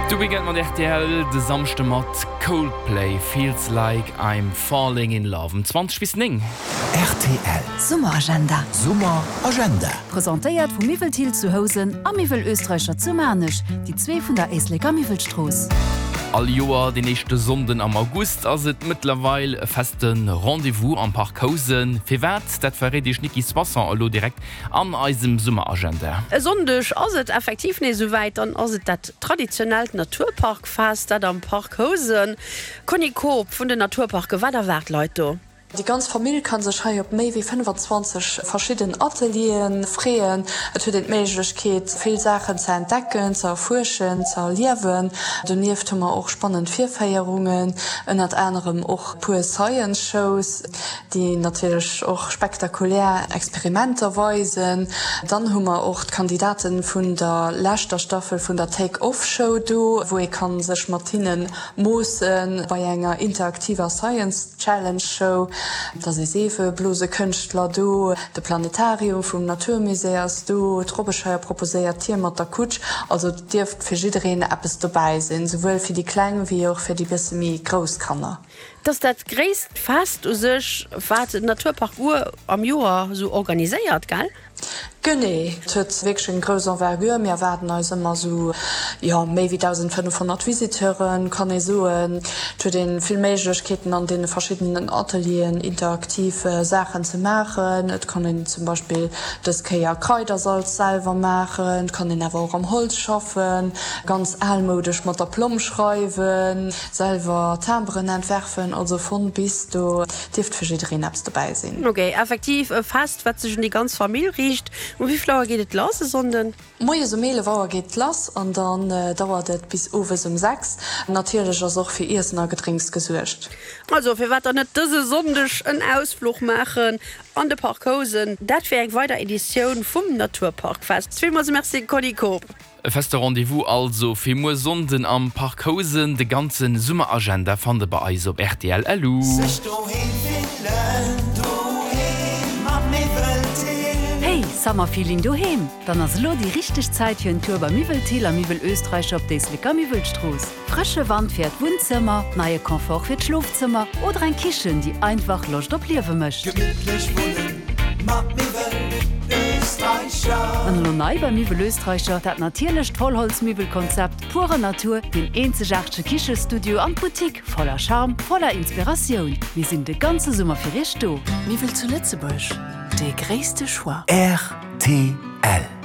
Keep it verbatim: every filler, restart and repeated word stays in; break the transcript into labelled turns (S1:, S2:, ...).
S1: De Weekend mat rtl, de Samschde mat Coldplay, Feels Like I'm Falling in Love um zwanzeg bis néng.
S2: Rtl.
S3: Summeragenda.
S2: Summeragenda.
S3: Presentéiert vu Miwwel Thill zu Housen a Miwwel Österreicher zu Maarnech, déi zwee vun der Éisleker Miwwelstrooss.
S1: All Joer den éischte Sonnden am August ass et mëttlerweil e feste Rendez-vous am Park Housen. Firwat? Dat verréit Iech d'Nicky Soisson elo direkt an eisem Summeragenda.
S4: E Sonndeg ass et effektiv nees esouwäit, dann ass et dat traditionellt Naturparkfest, dat am Park Housen. Conny Koob vun den Naturparken, wat erwaart d'Leit do?
S5: Déi ganz Famill kann sech hei op méi wéi fënnfanzwanzeg verschidden Atelieren freeën. Et huet een d'Méiglechkeet vill Saachen ze entdecken, ze erfuerschen, ze erliewen. Donieft hu mer och spannend Virféierungen, ënnert anerem och puer Science Shows, déi natierlech och spektakulär Experimenter weisen. Dann hu mer och d'Kandidaten vun der leschter Staffel vun der Take Off Show do, wou ee kann sech mat hinnen moossen bei enger interaktiver Science Challenge Show. Et ass ee Seefeblosekënschtler do, de Planetarium vum Naturmusée ass do, d'Robbescheier proposéiert Tier mat der Kutsch. Also et dierft fir jiddereen eppes dobäi sinn, souwuel fir déi Kleng wéi och fir déi bësse méi grouss Kanner.
S4: Et ass dat gréisst Fest u sech, wat den Naturpark Our am Joer esou organiséiert, gell?
S5: Genee, et huet wierklech eng grouss Envergure. Mir erwaarden eis ëmmer esou, jo, méi wéi dausendfënnefhonnert Visiteuren, kann ee soen. Et huet ee vill Méiglechkeeten an deene verschiddenen Atelieren interaktiv Saachen ze maachen. Et kann een zum Beispill dës Kéier Kraidersalz selwer maachen, et kann een awer och am Holz schaffen, ganz almoudesch mat der Plomm schreiwen, selwer Timberen entwerfen, also von bis, do dierft fir jiddereen eppes dobäi sinn.
S4: Ok, effektiv e Fest, wat sech un déi ganz Famill riicht. Um wéi vill Auer geet et lass e Sonnden?
S5: Moies um eelef Auer geet et lass an dann dauert et bis owes um sechs. Natierlech ass och fir Iessen a Gedrénks gesuergt.
S4: Also firwat dann net dëse Sonndeg en Ausfluch maachen an de Park Housen? Dat wär eng weider Editioun vum Naturparkfest. Villmools Merci Conny Koob.
S1: E feste Rendez-vous also fir muer Sonnden am Park Housen. De ganze Summeragenda fannt der bei eis op rtl. Lu.
S2: Sech doheem fillen, doheem mat Miwwel Thill.
S3: Hey, Summerfeeling doheem? Dann ass elo déi richteg Zäit fir en Tour bei Miwwel Thill a Miwwel Österreicher op d'Éisleker Miwwelstrooss. Frësche Wand fir Äert Wunnzëmmer, neie Confort fir d'Schlofzëmmer oder eng Kichen, déi einfach Loscht op Liewe mécht.
S2: Gemittlech wunnen mat Miwwel Österreicher.
S3: An elo nei bei Miwwel Österreicher, dat natierlecht Vollholzmiwwelkonzept, pure Natur, deen eenzegaartege Kichestudio an d'Boutique, voller Charme, voller Inspiratioun. Mir sinn de ganze Summer fir Iech do.
S6: Miwwel zu Lëtzebuerg, dee gréisste Choix.
S2: Rtl.